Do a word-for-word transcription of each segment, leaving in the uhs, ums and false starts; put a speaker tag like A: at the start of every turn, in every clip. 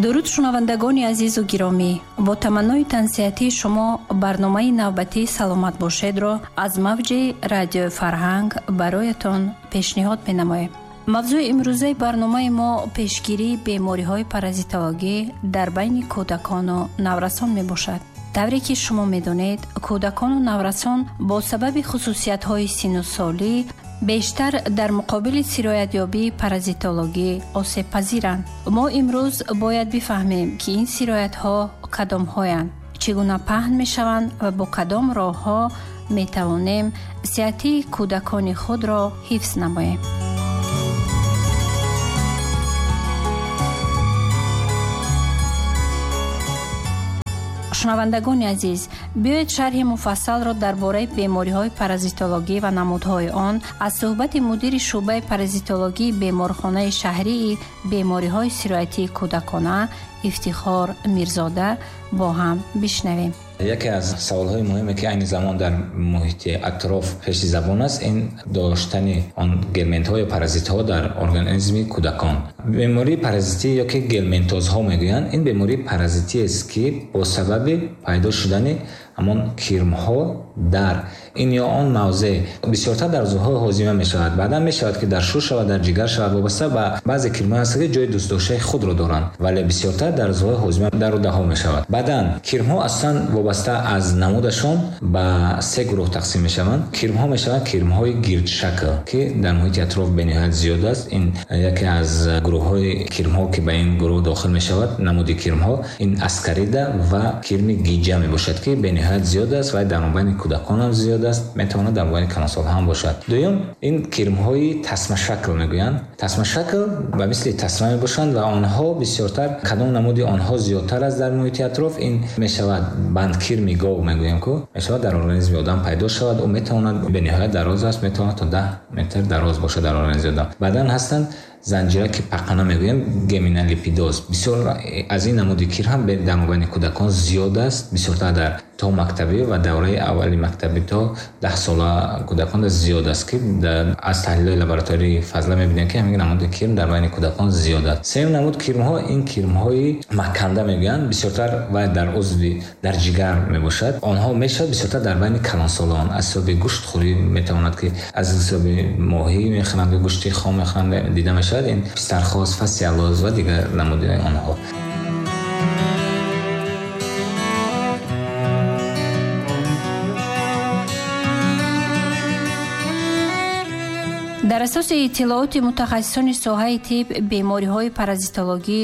A: Дуруд шунавандагони азизу гиромӣ, бо таманнои тансиҳатии шумо барномаи навбатии «Саломат бошедро» аз мавҷи радиои Фарҳанг бароятон пешниҳод менамоем. Мавзӯи имрӯзаи барномаи мо пешгирии бемориҳои паразитологӣ дар байни кӯдакону наврасон мебошад. Тавре ки шумо медонед, кӯдакону наврасон бо сабаби хусусиятҳои синну солӣ бештар дар муқобили сироятёбии паразитологӣ осебпазиранд. Мо имрӯз бояд бифаҳмем, ки ин сироятҳо кадомҳоянд, чӣ гуна паҳн мешаванд ва бо кадом роҳҳо метавонем сиҳатии кӯдакони худро ҳифз намоем. Шунавандагони азиз, биёед шарҳи муфассалро дар бораи бемориҳои паразитологӣ ва намудҳои он аз суҳбати мудири шӯъбаи паразитологии беморхонаи шаҳрии бемориҳои сироятии кӯдакона Ифтихор Мирзода бо ҳам бишнавем.
B: Яке аз саволҳои муҳиме, ки айни замон дар муҳити атроф пеши забон аст, ин доштани он гельминтҳо ё паразитҳо дар организми кӯдакон. Бемории паразитӣ ё ки гельминтозҳо мегӯянд, ин бемории паразитӣ аст, ки бо сабаби пайдо шудани ҳамон кирмҳо дар ин ё он мавзеъ бисёртар дар узвҳои ҳозима мешавад. Баъдан мешавад, ки дар шуш шавад, дар ҷигар шавад, вобаста ба баъзе кирмҳо ҳаст, ки ҷои дӯстдоштаи худро доранд, вале бисёртар дар узвҳои ҳозима дар рӯдаҳо мешавад. Баъдан кирмҳо аслан вобаста аз намудашон ба се гурӯҳ тақсим мешаванд. Кирмҳо мешаванд кирмҳои гирдшакл, ки дар муҳити атроф бениҳоят зиёд аст. Ин яке аз гурӯҳҳои кирмҳо, ки ба ин гурӯҳ дохил мешавад, намуди кирмҳо ин аскарида ва кирми гиҷа мебошад, ки бениҳоят зиёд аст ва дар мобайни кӯдакон ҳам зиёд аст, метавонад дар мобайни калонсолҳо ҳам бошад. Дуюм, ин кирмҳои тасмашакл мегӯянд. Тасмашакл ба мисли тасма мебошанд ва онҳо бисёртар, кадом намуди онҳо зиёдтар аст дар муҳити атроф, ин мешавад бандкирми гов мегӯем, ку мешавад дар организми одам пайдо шавад. Ӯ метавонад бениҳоят дароз аст, метавонад то даҳ метр дароз бошад дар организми одам. Баъдан ҳастанд занҷира, ки пақана мегӯем, геминалипидоз. Бисёр аз ин намуди кир ҳам дар мобайни кӯдакон зиёд аст, бисёртар дар то мактабӣ ва давраи аввали мактабӣ то даҳ сола кӯдакон зиёд аст, ки аз таҳлилҳои лаборатории фазла мебинем, ки ҳамин намуди кирм дар байни кӯдакон зиёд аст. Сеюм намуд кирмҳо ин кирмҳои маканда мегӯянд, бисёртар ва дар узви дар ҷигар мебошад. Онҳо мешавад бисёртар дар байни калонсолон аз ҳисоби гӯштхӯрӣ, метавонад ки аз ҳисоби моҳӣ мехӯранд, гӯшти хом мехӯранд, дида мешавад. Ин пистархоз, фасиалоз ва дигар намуди онҳо.
A: Дар асоси иттилооти мутахассисони соҳаи тиб, бемориҳои паразитологӣ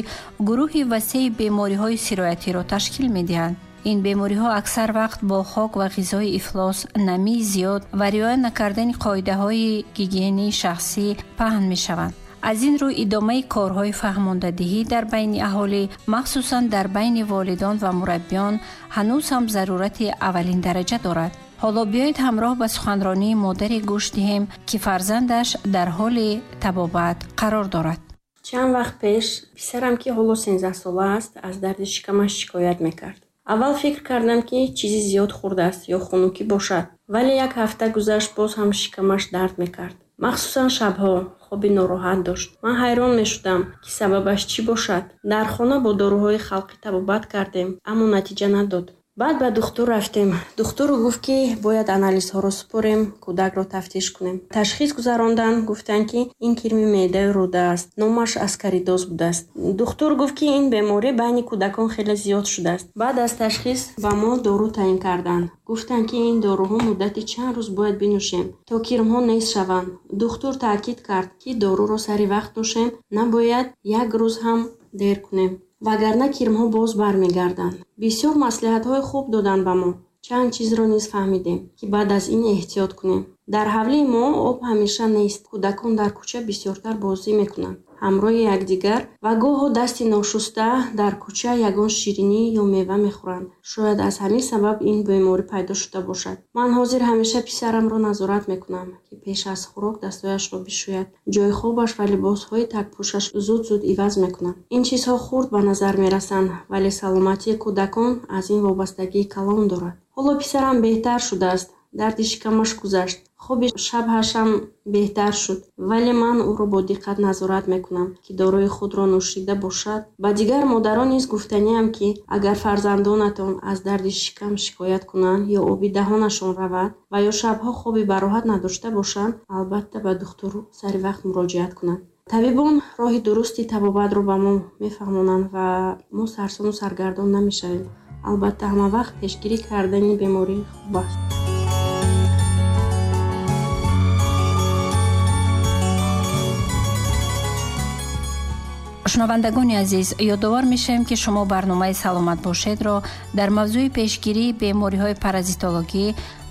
A: гурӯҳи васеи бемориҳои сироятиро ташкил медиҳанд. Ин бемориҳо аксар вақт бо хок ва ғизои ифлос, намии зиёд ва риоя накардани қоидаҳои гигиении шахсӣ паҳн мешаванд. Аз ин рӯ идомаи корҳои фаҳмондадиҳӣ дар байни аҳолӣ, махсусан дар байни волидон ва мураббиён, ҳанӯз ҳам зарурати аввалин дараҷа дорад. Ҳоло биёед ҳамроҳ ба суханронии модаре гӯш диҳем, ки фарзандаш дар ҳоли табобат қарор дорад.
C: Чанд вақт пеш писарам, ки ҳоло сенздаҳ сола аст, аз дарди шикамаш шикоят мекард. Аввал фикр кардам, ки чизи зиёд хӯрдааст ё хунукӣ бошад, вале як ҳафта гузашт, боз ҳам шикамаш дард мекард. Махсусан шабҳо хоби нороҳат дошт. Ман ҳайрон мешудам, ки сабабаш чӣ бошад. Дар хона бо доруҳои халқӣ табобат кардем, аммо натиҷа надод. Баъд ба духтур рафтем. Духтур гуфт, ки бояд анализҳоро супорем, кӯдакро тафтиш кунем. Ташхис гузарондан, гуфтанд, ки ин кирми меъдаи рӯда аст. Номаш аскаридоз будааст. Духтур гуфт, ки ин беморӣ байни кӯдакон хеле зиёд шудааст. Баъд аз ташхис ба мо дору таъин карданд. Гуфтанд, ки ин доруҳо муддати чанд рӯз бояд бинӯшем, то кирмҳо нест шаванд. Духтур таъкид кард, ки доруро сари вақт нӯшем, набояд як рӯз ҳам дер кунем, вагарна кирмҳо боз бармегарданд. Бисёр маслиҳатҳои хуб доданд ба мо. Чанд чизро низ фаҳмидем, ки баъд аз ин эҳтиёт кунем. Дар ҳавлии мо об ҳамеша нест. Кӯдакон дар кӯча бисёртар бозӣ мекунанд ҳамроҳи якдигар ва гоҳо дасти ношуста дар кӯча ягон ширинӣ ё мева мехӯранд. Шояд аз ҳамин сабаб ин беморӣ пайдо шуда бошад. Ман ҳозир ҳамеша писарамро назорат мекунам, ки пеш аз хӯрок дастҳояшро бишӯяд, ҷои хобаш ва либосҳои такпӯшаш зуд-зуд иваз мекунам. Ин чизҳо хурд ба назар мерасанд, вале саломатии кӯдакон аз ин вобастагии калон дорад. Ҳоло писарам беҳтар шудааст. Дарди шикамаш гузашт. Хоби шабҳашам беҳтар шуд, вале ман ӯро бо диққат назорат мекунам, ки дорои худро нӯшида бошад. Ба дигар модарон низ гуфтаниам, ки агар фарзандонатон аз дарди шикам шикоят кунанд ё оби даҳонашон равад ва ё шабҳо хоби бароҳат надошта бошанд, албатта ба духтур сари вақт муроҷиат кунанд. Табибон роҳи дурусти табобатро ба мо мефаҳмонанд ва мо сарсону саргардон намешавем. Албатта, ҳама вақт пешгирӣ кардани беморӣ хуб аст.
A: Шунавандагони азиз, ёдовар мешавем, ки шумо барномаи «Саломат бошед»-ро дар мавзӯи пешгирии бемориҳои паразитологӣ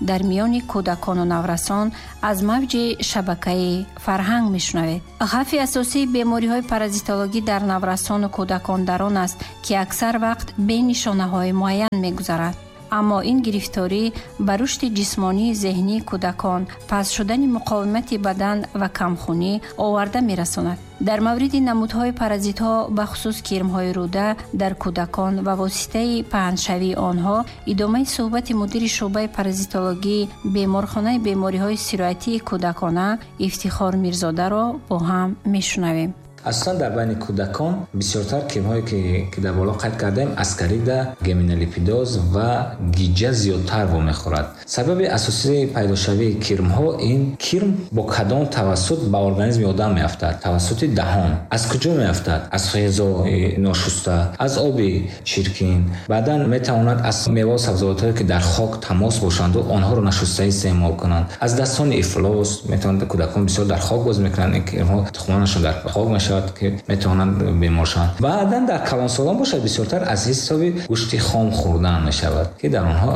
A: дар миёни кӯдакону наврасон аз мавҷи шабакаи фарҳанг мешунавед. Хавфи асосии бемориҳои паразитологӣ дар наврасону кӯдакон дар он аст, ки аксар вақт бе нишонаҳои муайян мегузарад. Аммо ин гирифторӣ ба рушди ҷисмонии зеҳнии кӯдакон, паст шудани муқовимати бадан ва камхунӣ оварда мерасонад. Дар мавриди намудҳои паразитҳо, бахусус кирмҳои рӯда дар кӯдакон ва воситаи паҳншавии онҳо, идомаи суҳбати мудири шӯъбаи паразитологии беморхонаи бемориҳои сироятии кӯдакона Ифтихор Мирзодаро бо ҳам мешунавем.
B: Асосан дар байни кӯдакон бисёртар кирмҳое ки, ки дар боло қайд кардаем, аскарида, геминолипидоз ва гиҷа зиёдтар вомехӯрад. Сабаби асосии пайдошавии кирмҳо ин кирм бо кадом тавассут ба организми одам меафтад? Тавассути даҳон. Аз куҷо меафтад? Аз ғизои ношуста, аз оби чиркин. Баъдан метавонад аз мева сабзавотҳое ки дар хок тамос бошанду онҳоро нашуста истеъмол кунанд. Аз дастони ифлос метавонад, кӯдакон бисёр дар хок боз мекунанд, ин кирмҳо тухмонашон дар хок мешавад ки метавонанд бемор шаванд. Баъдан дар калонсолон бошад, бисёртар аз ҳисоби гӯшти хом хӯрдан мешавад, ки дар онҳо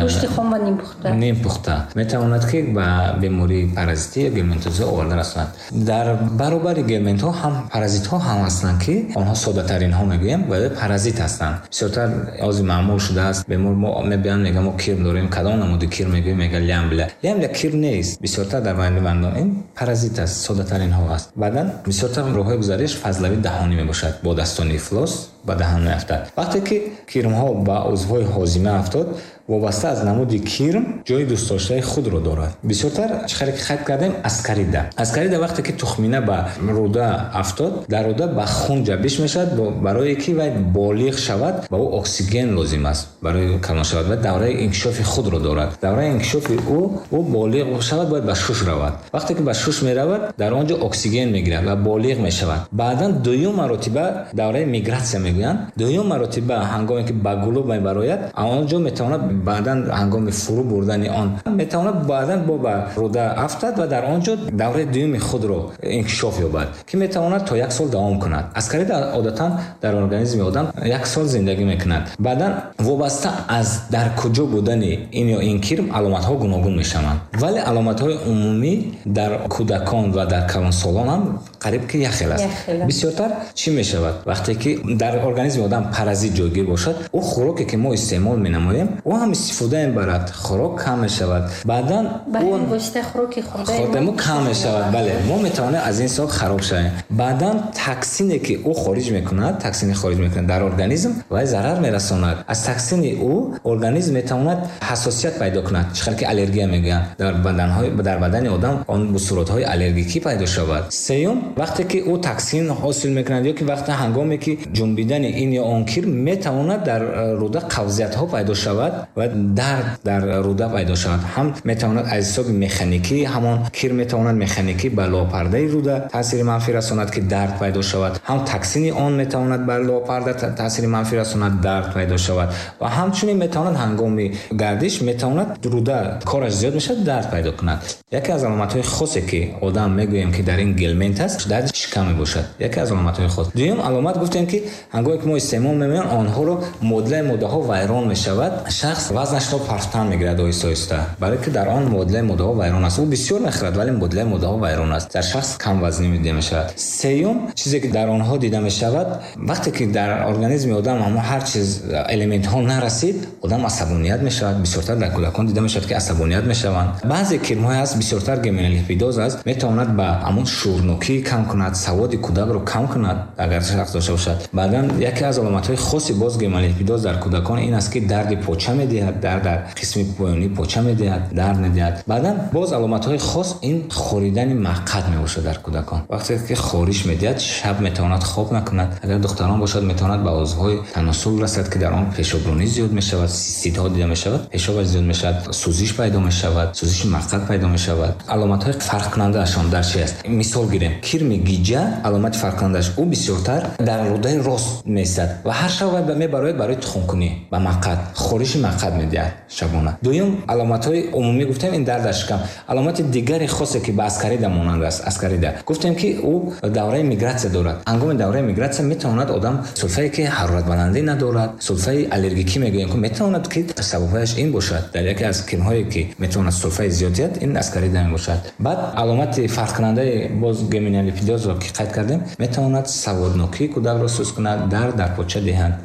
A: гӯшти хом ва нимпухта
B: нимпухта метавонад ки ба бемории паразитӣ ё гельминтоза оварда расонад. Дар баробари гельминтҳо ҳам паразитҳо ҳам ҳастанд, ки онҳо соддатаринҳо мегӯем, вале паразит ҳастанд. Бисёртар ози маъмул шудааст, бемор мо мебиёнд, мегӯянд мо кирм дорем, кадом намуди кирм мегӯем, мегӯянд лямбля. Лямбля кирм нест, бисёртар дар байни бандон ин паразит аст, соддатаринҳо аст. Баъдан бисёртар роҳҳои гузариш фазлавии даҳонӣ мебошад, бо дастони ифлос ба даҳан меафтад. Вақте ки кирмҳо ба узвҳои ҳозима афтод, вобаста аз намуди кирм ҷои дӯстдоштаи худро дорад. Бисёртар чӣ хеле ки қайд кардем, аскарида. Аскарида вақте ки тухмина ба рӯда афтод, дар рӯда ба хун ҷабиш мешавад, барое ки вай болиғ шавад, ба ӯ оксиген лозим аст барои калон шавад ва давраи инкишофи худро дорад. Давраи инкишофи ӯ, ӯ болиғ шавад, бояд ба шуш равад. Вақте ки ба шуш меравад, дар он ҷо оксиген мегирад ва болиғ мешавад. Баъдан дуюм маротиба давраи мигратсия мегӯянд. Дуюм маротиба ҳангоме ки ба гулӯ мебарояд, он ҷо метавонад баъдан ҳангоми фурӯ бурдани он метавонад баъдан бо ба рӯда афтад ва дар он ҷо давраи дуюми худро инкишоф ёбад, ки метавонад то як сол давом кунад. Аскарида одатан дар организми одам як сол зиндагӣ мекунад. Баъдан вобаста аз дар куҷо будани ин ё ин кирм аломатҳо гуногун мешаванд, вале аломатҳои умумӣ дар кӯдакон ва дар калонсолон ҳам қариб ки як хел аст. Бисёртар чӣ мешавад? Вақте ки дар организми одам паразит ҷойгир бошад, ӯ хӯроке ки мо истеъмол менамоем, ӯ ҳам истифода мебарад, хӯрок кам мешавад. Баъдан хӯрдаи мо кам мешавад. Бале, мо метавонем аз ин ҳисоб хароб шавем. Баъдан токсине ки ӯ хориҷ мекунад, токсине хориҷ мекунад дар организм ва зарар мерасонад. Аз токсини ӯ организм метавонад ҳассосият пайдо кунад, чӣ хел ки аллергия мегӯянд. Дар баданҳои дар бадани одам он бусуротҳои аллергикӣ пайдо шавад. Сеюм, вақте ки ӯ токсин ҳосил мекунад ё ки вақте ҳангоме ки ҷунбидани ин ё он кирм метавонад дар рӯда қабзиятҳо пайдо шавад ва дард дар рӯда пайдо шавад. Ҳам метавонад аз ҳисоби механикӣ, ҳамон кирм метавонад механикӣ ба лопардаи рӯда таъсири манфӣ расонад, ки дард пайдо шавад. Ҳам токсини он метавонад бар лопарда таъсири манфӣ расонад, дард пайдо шавад. Ва ҳамчунин метавонад ҳангоми гардиш метавонад рӯда кораш зиёд мешавад, дард пайдо кунад. Яке аз аломатҳои хосе ки одам мегӯем ки дар ин гельминт аст, дарди шикам мебошад. Яке аз аломатҳои хос. Дуюм аломат гуфтем ки ҳангоме ки мо истеъмол мемоем, онҳоро муодилаи моддаҳо вайрон мешавад. Шахс вазнашро партан мегирад оҳиста оҳиста, барои ки дар он муодилаи моддаҳо вайрон аст. Ӯ бисёр мехӯрад, вале муодилаи моддаҳо вайрон аст. Дар шахс кам вазнӣ дида мешавад. Сеюм чизе ки дар онҳо дида мешавад, вақте ки дар организми одам ҳамон ҳар чиз элементҳо нарасид, одам асабоният мешавад. Бисёртар дар кӯдакон дида мешавад ки асабоният мешаванд. Баъзе кирмҳое ҳаст, бисёртар геминолипидоз аст, метавонад ба ҳамон шӯрнокии кам кунад, саводи кӯдакро кам кунад, агар шахс дошта бошад. Баъдан яке аз аломатҳои хоси боз геминолипидоз дар кӯдакон ин аст, ки дарди поча медиҳад, дард дар қисми поёнии поча медиҳад, дард медиҳад. Баъдан боз аломатҳои хос ин хоридани маққад мебошад дар кӯдакон. Вақте ки хориш медиҳад, шаб метавонад хоб накунад. Агар духтарон бошад, метавонад ба узвҳои таносул расад, ки дар он пешобронӣ зиёд мешавад, сисидҳо дида мешавад, пешоб зиёд мешавад, сӯзиш пайдо мешавад, сӯзиши маққад пайдо мешавад. Аломатҳои фарқкунандаашон дар чи аст? Мисол гирем, кирми гиҷа аломати фарқкунандааш ӯ бисёртар дар рӯдаи рост меистад ва ҳар шаб вай мебарояд барои тухмкунӣ ба маққад, хориши маққад медиҳад шабона. Дуюм, аломатҳои умумӣ гуфтем, ин дард дар шикам. Аломати дигари хосе, ки ба аскарида монанд аст, аскарида гуфтем, ки ӯ давраи мигратсия дорад. Ҳангоми давраи мигратсия метавонад одам сулфае, ки ҳароратбаландӣ надорад, сулфаи аллергикӣ мегӯем, ки метавонад, ки сабабҳояш ин бошад. Дар яке аз кирмҳое, ки метавонад сулфаи зиёд диҳад, ин аскарида мебошад. Баъд аломати фарқкунандаи боз геминолипидозро, ки қайд кардем, метавонад саводнокии кӯдакро суст кунад, дард дар поча диҳанд.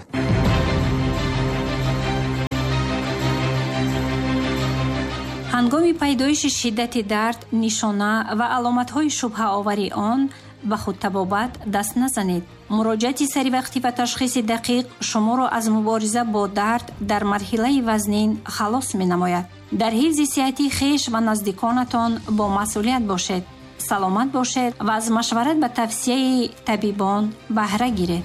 A: Ҳангоми пайдоиши шиддати дард, нишона ва аломатҳои шубҳаовари он ба худтабобат даст назанед. Муроҷиати саривақтӣ ва ташхиси дақиқ шуморо аз мубориза бо дард дар марҳилаи вазнин халос менамояд. Дар ҳифзи сиҳати хеш ва наздиконатон бо масъулият бошед, саломат бошед ва аз машварат ба тавсияи табибон баҳра гиред.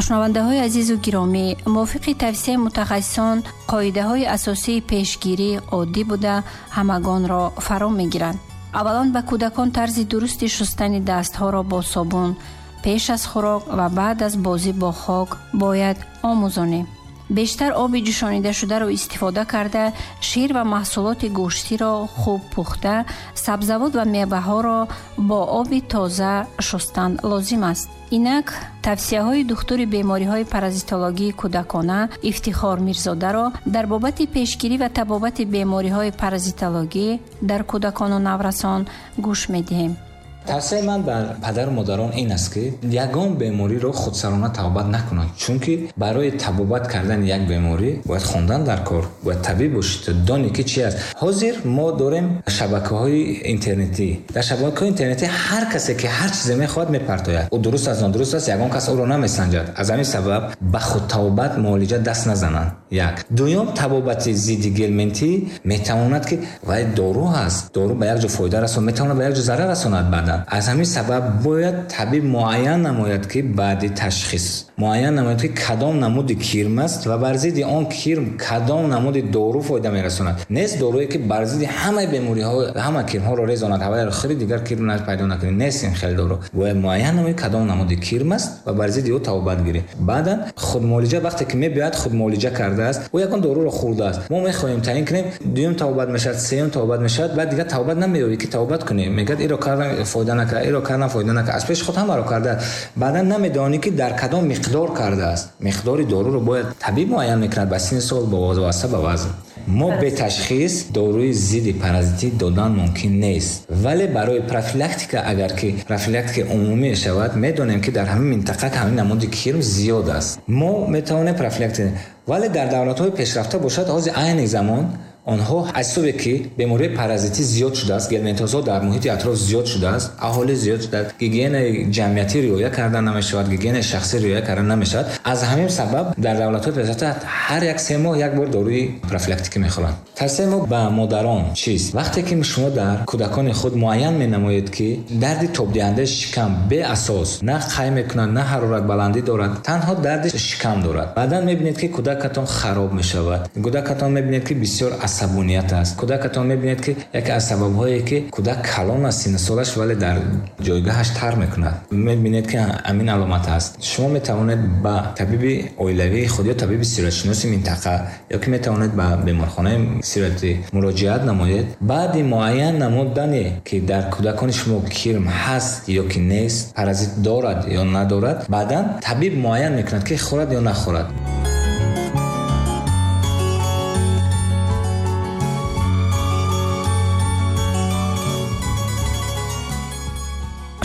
A: Шунавандаҳои азизу гиромӣ, мувофиқи тавсияи мутахассисон, қоидаҳои асосии пешгирӣ оддӣ буда ҳамагонро фаро мегиранд. Аввалан, ба кӯдакон тарзи дурусти шустани дастҳоро бо собун пеш аз хӯрок ва баъд аз бозӣ бо хок бояд омӯзонем. Бештар оби ҷӯшонидашударо истифода карда, шир ва маҳсулоти гӯштиро хуб пухта, сабзавот ва меваҳоро бо оби тоза шустан лозим аст. Инак тавсияҳои духтури бемориҳои паразитологии кӯдакона Ифтихор Мирзодаро дар бобати пешгирӣ ва табобати бемориҳои паразитологӣ дар кӯдакону наврасон гӯш медиҳем.
B: Тавсияи ман бар падару модарон ин аст, ки ягон бемориро худсарона табобат накунанд, чунки барои табобат кардани як беморӣ бояд хондан дар кор, бояд табиб бошӣ то донӣ, ки чи аст. Ҳозир мо дорем шабакаҳои интернетӣ. Дар шабакаҳои интернетӣ ҳар касе, ки ҳар чизе мехоҳад, мепартояд. Ӯ дуруст аст, нодуруст аст, ягон кас ӯро намесанҷад. Аз ҳамин сабаб ба худтабобат муолиҷа даст назананд. Як. Дуюм, табобати зидди гельминтӣ метавонад, ки вай дору ҳаст, дору ба як ҷо фоида расонад, метавонад ба як ҷо зарар расонад баъдан. Аз ҳамин сабаб бояд табиб муайян намояд, ки баъди ташхис муайян намояд, ки кадом намуди кирм аст ва бар зидди он кирм кадом намуди дору фоида мерасонад. Нест доруе, ки бар зидди ҳамаи бемориҳо, ҳама кирмҳоро резонад, ҳавайро хӯри, дигар кирм пайдо накунӣ. Нест ин хел дору. Бояд муайян намояд, кадом намуди кирм аст ва бар зидди ӯ табобат гирӣ. Баъдан худмуолиҷа вақте ки мебиёяд, худмуолиҷа кардааст, ӯ ягон доруро хӯрдааст, мо мехоҳем таъин кунем, дуюм табобат мешавад, сеюм табобат мешавад, баъд дигар табобат намеёбӣ, ки табобат кунӣ. Мегӯяд, иро кардам, фоида накард, иро кардам, фоида накард. Аз пеши худ ҳамаро кардааст. Баъдан намедонӣ, ки дар кадом миқдор кардааст. Миқдори доруро бояд табиб муайян мекунад ба синни сол, ба вобаста ба вазн. Мо бе ташхис доруи зидди паразитӣ додан мумкин нест, вале барои профилактика, агар ки профилактикаи умумӣ шавад, медонем, ки дар ҳамин минтақа ҳамин намуди кирм зиёд аст, мо метавонем профилактика. Вале дар давлатҳои пешрафта бошад, ҳозир айни замон онҳо аз ҳисобе, ки бемории паразитӣ зиёд шудааст, гельминтозҳо дар муҳити атроф зиёд шудааст, аҳолӣ зиёд шудааст, гигиенаи ҷамъиятӣ риоя карда намешавад, гигиенаи шахсӣ риоя карда намешавад. Аз ҳамин сабаб дар давлатҳои пешрафта ҳар як се моҳ як бор доруи профилактикӣ мехӯранд. Тавсияи мо ба модарон чист? Вақте ки шумо дар кӯдакони худ муайян менамоед, ки дарди тобдиҳандаи шикам беасос на қай мекунад, на ҳароратбаландӣ дорад, танҳо дарди шикам дорад, баъдан мебинед, ки кӯдакатон хароб мешавад, кӯдакатон мебинед, ки бисёр асабоният аст, кӯдакатон мебинед, ки яке аз сабабҳое, ки кӯдак калон аст синну солаш, вале дар ҷойгоҳаш тар мекунад, мебинед, ки ҳамин аломат аст, шумо метавонед ба табиби оилавии худ ё табиби сироятшиноси минтақа ё ки метавонед ба беморхонаи сироятӣ муроҷиат намоед. Баъди муайян намудане, ки дар кӯдакони шумо кирм ҳаст ё ки нест, паразит дорад ё надорад, баъдан табиб муайян мекунад, ки хӯрад ё нахӯрад.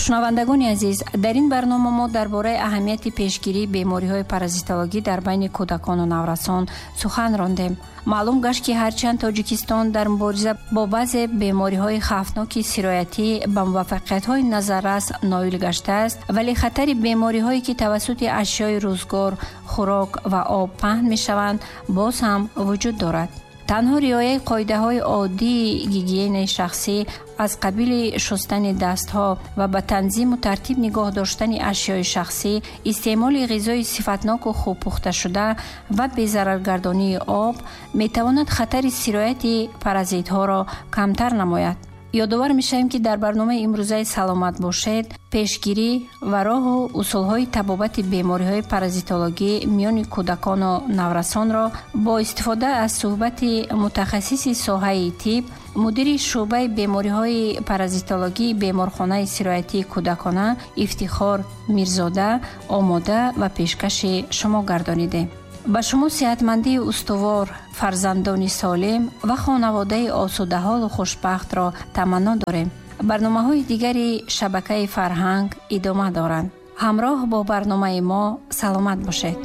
A: Шунавандагони азиз, дар ин барнома мо дар бораи аҳамияти пешгирии бемориҳои паразитологӣ дар байни кӯдакону наврасон сухан рондем. Маълум гашт, ки ҳарчанд Тоҷикистон дар мубориза бо баъзе бемориҳои хавфноки сироятӣ ба муваффақиятҳои назаррас ноил гаштааст, вале хатари бемориҳое, ки тавассути ашёи рӯзгор, хӯрок ва об паҳн мешаванд, боз ҳам вуҷуд дорад. Танҳо риояи қоидаҳои оддии гигиенаи шахсӣ аз қабили шустани дастҳо ва ба танзиму тартиб нигоҳ доштани ашёи шахсӣ, истеъмоли ғизои сифатноку хуб пухташуда ва безараргардонии об метавонад хатари сирояти паразитҳоро камтар намояд. Ёдовар мешавем, ки дар барномаи имрӯзаи «Саломат бошед» пешгирӣ ва роҳу усулҳои табобати бемориҳои паразитологӣ миёни кӯдакону наврасонро бо истифода аз суҳбати мутахассиси соҳаи тиб, мудири шӯъбаи бемориҳои паразитологии беморхонаи сироятии кӯдакона Ифтихор Мирзода омода ва пешкаши шумо гардонидем. Ба шумо сеҳатмандии устувор, фарзандони солим ва хонаводаи осудаҳолу хушбахтро таманно дорем. Барномаҳои дигари шабакаи «Фарҳанг» идома доранд. Ҳамроҳ бо барномаи мо саломат бошед.